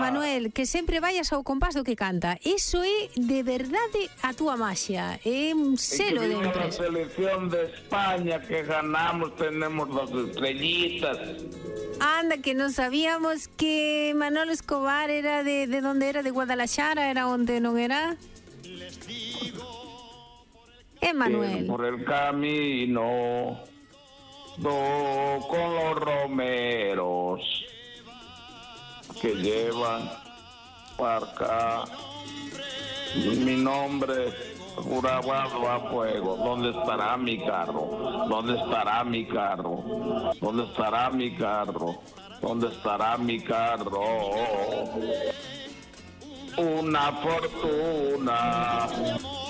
Manuel, que sempre vayas ao compás do que canta. Iso é de verdade a túa maxia. É un selo de empresa. A selección de España que ganamos, tenemos 2 estrellitas. Anda, que non sabíamos que Manolo Escobar era de donde era, de Guadalajara, era onde non era? Manuel. Por el camino con los romeros que llevan para acá mi nombre grabado a fuego. ¿Dónde estará mi carro? ¿Dónde estará mi carro? ¿Dónde estará mi carro? ¿Dónde estará mi carro? Una fortuna,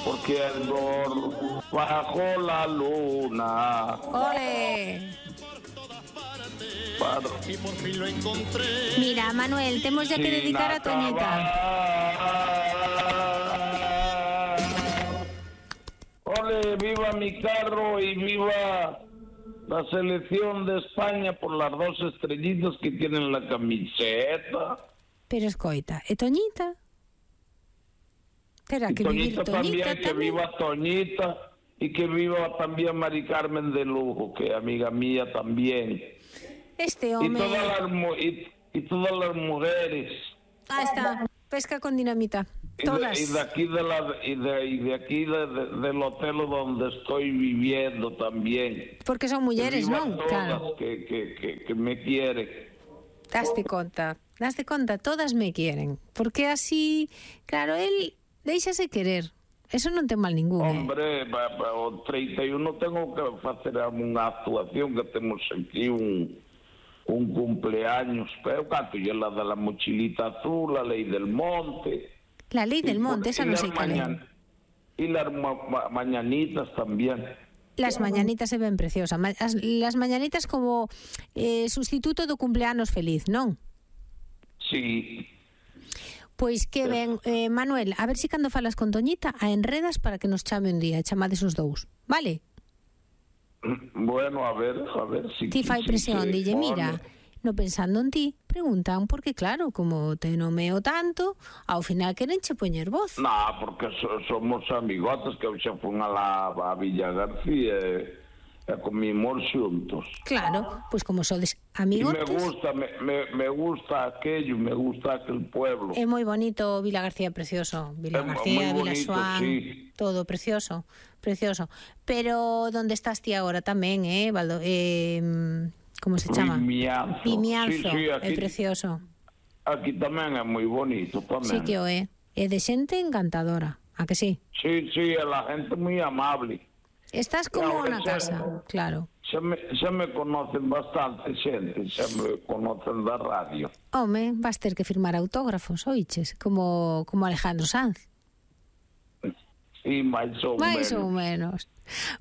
porque el gol bajo la luna. ¡Ole! Y por fin lo encontré. Mira, Manuel, tenemos ya que dedicar a Toñita. ¡Ole! ¡Viva mi carro y viva la selección de España por las 2 estrellitas que tienen la camiseta! Pero escoita, ¿e Toñita? Terá que vivir Toñita Toñita también, que viva Toñita y que viva también Mari Carmen de Lugo, que es amiga mía también. Este hombre... Y todas las mujeres. Ah, está, pesca con dinamita. Todas. Y de aquí del hotel donde estoy viviendo también. Porque son mujeres, ¿no? Todas, Claro. que me quieren. Daste conta, todas me quieren. Porque así, claro, él déixase querer. Eso non ten mal ningún. Hombre, o 31 tengo que hacer unha actuación que temos aquí un cumpleaños, pero canto yo la de la mochilita azul, la ley del monte. La ley del monte, esa no sé cuál es. Y las mañanitas también. Las mañanitas se ven preciosas. Las mañanitas como sustituto do cumpleanos feliz, non? Sí. Pois que ben, Manuel, a ver si cando falas con Toñita a enredas para que nos chame un día, chamades os dous, vale? Bueno, a ver si... Ti fai presión, dille, mira, no pensando en ti, preguntan, porque claro, como te nomeo tanto, ao final querenche poñer voz. No, porque somos amigotes que xa fun a Villa García e comimos xuntos. Claro, pois como sodes amigotes... Me gusta aquello, me gusta aquel pueblo. É moi bonito Vila García, precioso. Vila García, Vila Suán, sí. Todo precioso, precioso. Pero donde estás ti agora tamén, Valdo? Como se chama? Vimianzo. Sí, é precioso. Aquí tamén é moi bonito tamén. Sí que o é. É de xente encantadora, a que sí? Sí, é la gente moi amable. Estás como na casa, claro. Xa me conocen bastante xente, xa me conocen da radio. Home, vas ter que firmar autógrafos, oiches, como Alejandro Sanz. Sí, máis ou menos.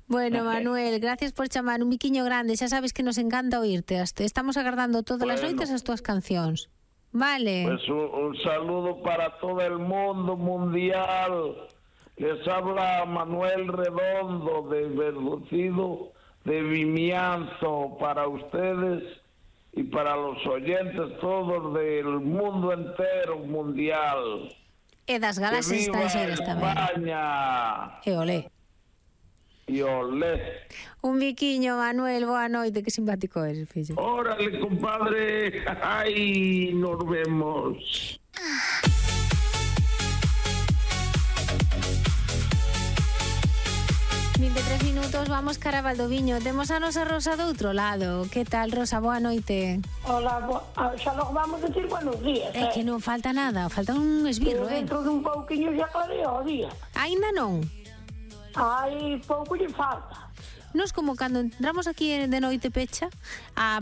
Bueno, Manuel, gracias por chamar, un biquiño grande, xa sabes que nos encanta oírte. Estamos agardando todas as noites as túas cancións. Vale. Pues un saludo para todo el mundo mundial. Les habla Manuel Redondo de Verducido de Vimianzo para ustedes y para los oyentes todos del mundo entero mundial. E das galaxias estranxeras tamén. España. E olé. E olé. Un biquiño, Manuel, boa noite, que simpático eres, fillo. Órale, compadre. Ay, nos vemos. 23 minutos, vamos cara a Valdoviño. Temos a nosa Rosa do outro lado. Que tal, Rosa? Boa noite. Hola, xa logo vamos decir buenos días. É que non falta nada, falta un esbirro, Dentro dun pouquiño xa clarea o día. Ainda non? Ai, pouco lle falta. Nos como cando entramos aquí de noite pecha,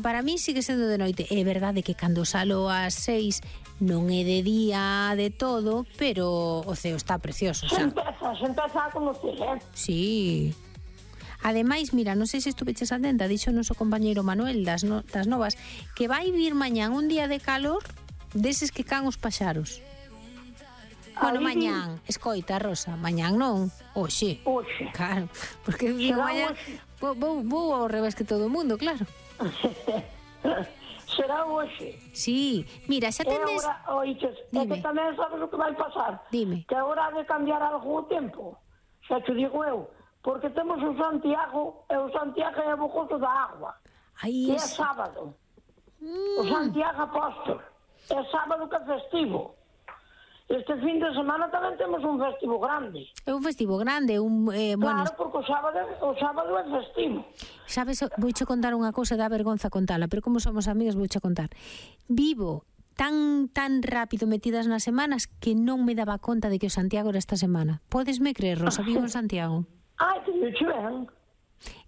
para mí sigue sendo de noite. É verdade que cando salo ás 6 non é de día de todo, pero o ceo está precioso, xa. Se empeza a conocer, Sí. Ademais, mira, non sei se estuveches atenta, dixo o noso compañeiro Manuel das novas, que vai vir mañán un día de calor deses que can os paxaros. Bueno, mañán, escoita, Rosa, mañán non, hoxe. Hoxe. Claro, porque mañán vou ao revés que todo o mundo, claro. Será hoxe. Sí, mira, xa tendes... Oiches, é que tamén sabes o que vai pasar. Dime. Que agora ha de cambiar algo o tempo. Xa te digo eu. Porque temos o Santiago, e o Santiago é o gozo da agua. Aí Que é sábado. O Santiago Apóstol. É sábado que é festivo. Este fin de semana tamén temos un festivo grande. É un festivo grande, Claro, porque o sábado é festivo. Sabes, vouche contar unha cousa, dá vergonza contala, pero como somos amigas vouche contar. Vivo tan rápido metidas nas semanas que non me daba conta de que o Santiago era esta semana. Podesme creer, Rosa, vivo en Santiago. Ai, que me ben.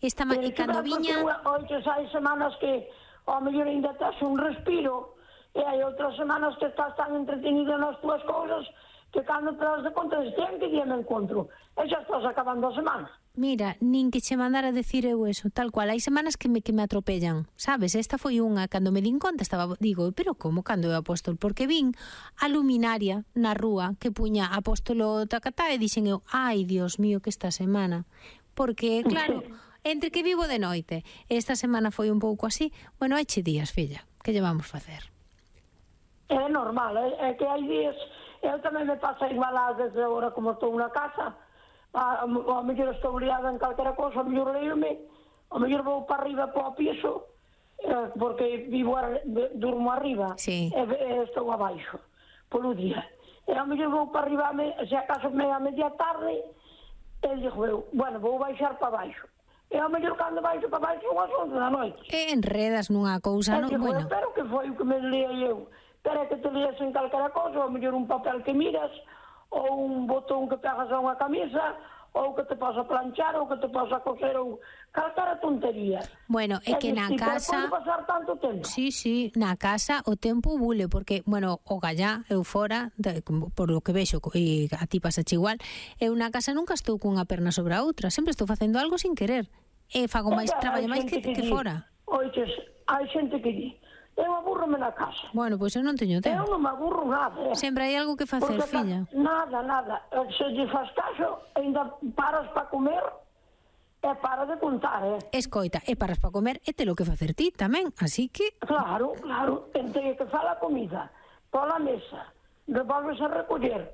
E cando viña... Oiches, hai semanas que ao mellor ainda tes un respiro, e hai outras semanas que estás tan entretenido nas tuas cousas que cando te das de conta de que día me encontro e xa estás acabando a semana. Mira, nin que che mandara decir eu eso, tal cual. Hai semanas que me atropellan, sabes? Esta foi unha, cando me din conta, digo, pero como cando é apóstol? Porque vin a luminaria na rúa que puña apóstolo tacatá e dixen eu, ai, Dios mío, que esta semana. Porque, claro, entre que vivo de noite, esta semana foi un pouco así, bueno, hai che días, filla, que lle vamos facer? É normal, é que hai días, eu tamén me pasa igual ás veces agora como estou na casa, a mellor estou liada en calquera cosa, a mellor leio-me, a mellor vou para arriba para o piso, porque durmo arriba, sí. E estou abaixo, polo día. E a mellor vou para arriba, se acaso a media tarde, e digo eu, bueno, vou baixar para baixo. E ao mellor cando baixo para baixo son as 11 da noite. E enredas nunha cousa, non? Bueno, pero que foi o que me leia eu. Pero é que te leas en calquera cosa, ou mellor un papel que miras, ou un botón que pegas a unha camisa, ou que te posa planchar, ou que te posa coser, ou calquera tontería. Bueno, é que na casa... Pode pasar tanto tempo. Sí, na casa o tempo bule, porque, bueno, o gallá, eu fora, por lo que vexo, e a ti pasache igual, eu na casa nunca estou cunha perna sobre a outra, sempre estou facendo algo sin querer. E fago máis traballo máis que fora. Oiches, hai xente que di, eu aburro-me na casa. Bueno, pois eu non teño tempo. Eu non me aburro nada. Sempre hai algo que facer, filla. Nada. Se lle faz caso, ainda paras para comer e para de contar, Escoita, e paras para comer e te lo que facer ti tamén, así que... Claro. Entre que fala a comida, pola mesa, volves a recoller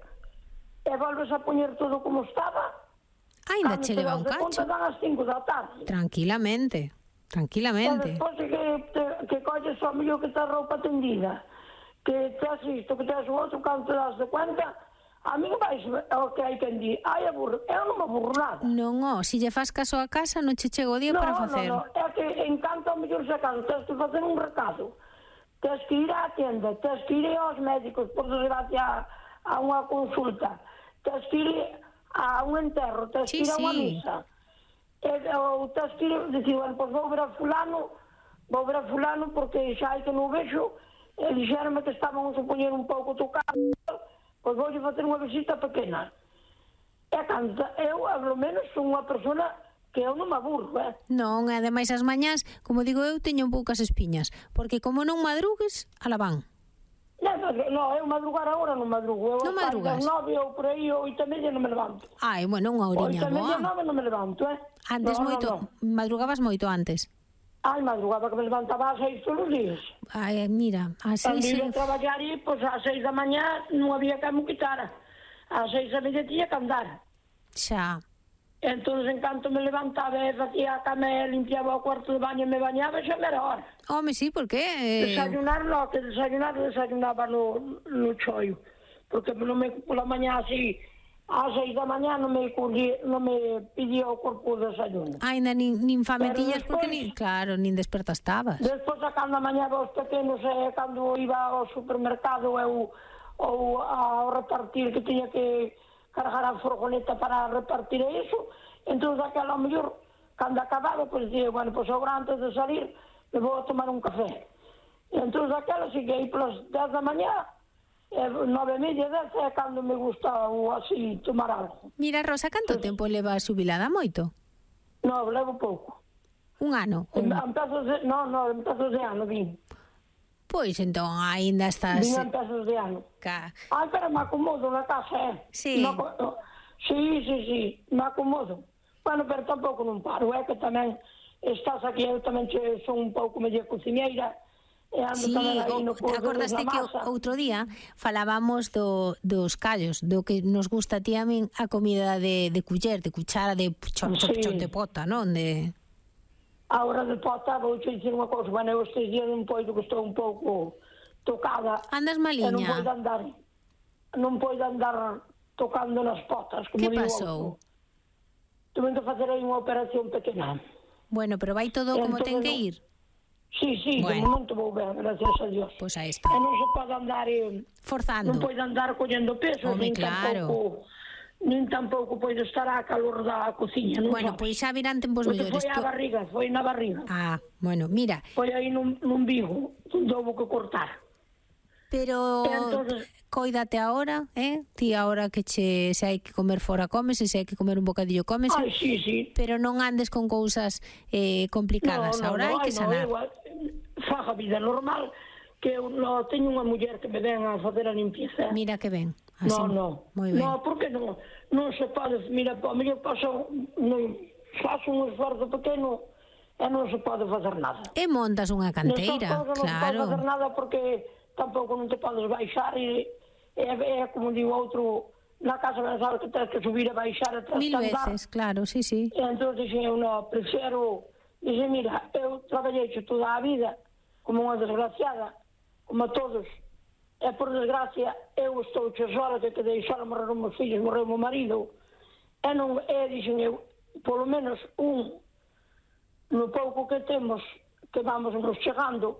e volves a poñer todo como estaba, ainda che leva un cacho. Cando te das de conta dan as 5 da tarde. Tranquilamente. E despois que colles o mellor que tes roupa tendida, que tes isto, que tes o outro, cando te das de cuenta, a mí vais o que hai quen di, ai aburro, eu non me aburro nada. Non, se lle faz caso a casa, non che chego o día para facer. Non, é que encanta o mellor se acaso, tens que facer un recado, tens que ir á tienda, tens que ir aos médicos, por desgracia a unha consulta, tens que ir a un enterro, tens que ir a unha misa. Ou tens que ir, dicir, bueno, pois vou ver a fulano porque xa hai que non vexo, e dixeronme que estaban a poñer un pouco tocado, pois voulle facer unha visita pequena. E cando eu, ao menos, son unha persona que eu non me aburro, Non, ademais as mañás, como digo eu, teño poucas espiñas, porque como non madrugues, ala van. Non, eu madrugar agora non madrugo. Non madrugas? 9 ou por aí, 8:30 non me levanto. Ai, bueno, unha horiña boa. 8:30, 9 non me levanto, Antes moito, madrugabas moito antes. Ai, madrugaba que me levantaba ás 6 todos os días. Ai, mira, ás 6... Cando iba a traballar e, pois, ás 6 da mañá non había que me quitara. Ás 6:30 tiña que andar. Xa. Entón, en canto me levantaba e facía a cama e limpiaba o cuarto de baño e me bañaba, xa me era hora. Home, sí, por que? Desayunar, no, que desayunaba no choio. Porque pola mañá así, ás 6 da mañá non me pedía o corpo o desayuno. Ainda nin fametiñas, porque nin desperta estabas. Despois, a cando a mañá os pequenos, cando iba ao supermercado ou ao repartir, que tiña que cargar a furgoneta para repartir iso, entón aquela ao mellor, cando acababa, pois dicía, bueno, pois agora antes de salir, me vou a tomar un café. E entón aquela, seguei polas 10 da mañá, 9:30, 10, é cando me gusta ou así tomar algo. Mira, Rosa, canto tempo leva xubilada? Moito? Non, levo pouco. Un ano? Empezos de ano, vim. Pois entón, aínda estás... Vim empezos de ano. Ai, pero me acomodo na casa, Sí. Sí, me acomodo. Bueno, pero tampouco non paro, é que tamén estás aquí, eu tamén son un pouco media cociñeira, e ando Sí, tamén aí no curso acordaste da que masa. outro día falábamos dos callos, do que nos gusta a ti a min a comida de culler, de cuchara, de chop, chop, Sí. chop de pota, non? A hora de pota, vou te dicir unha cousa, bueno, eu estes días un poido que estou un pouco tocada. Andas E maliña? non podo andar tocando nas potas, como Que digo pasou? outro. Tuve que facer aí unha operación pequena. Bueno, pero vai todo como ten que ir? Sí, de Bueno. momento vou ben, gracias a Dios. Pois aí está. E non se pode andar Forzando. non podo andar collendo peso, Home, claro. nin tampouco podo estar a calor da cociña, non Bueno, sabes? pois xa virán tempos Porque mellores. foi a barriga, foi na barriga. Ah, bueno, mira, Foi aí nun vigo, onde houve que cortar. pero E entonces- coídate ahora, ti ahora que se hai que comer fora comes, e se hai que comer un bocadillo comes, Ai, sí. pero non andes con cousas complicadas. Ahora hai que sanar. Faga vida normal, que eu teño unha muller que me ven a facer a limpieza. Mira que ben. Así, moi ben. No, porque non se pode, mira, a mellor paso, faço un esforzo pequeno e non se pode facer nada. E montas unha canteira, Nestas cousas non se pode facer claro. nada porque tampouco non te podes baixar e como digo outro, na casa mensal que tens que subir e baixar e tens Mil que andar. veces, claro, sí. E entón dixen eu, prefiro, dixe, mira, eu traballei toda a vida como unha desgraciada, como todos, e por desgracia eu estou sola, que quedei sola, morreron meus filhos, morreu meu marido, dixen eu, polo menos no pouco que temos, que vamos nos chegando,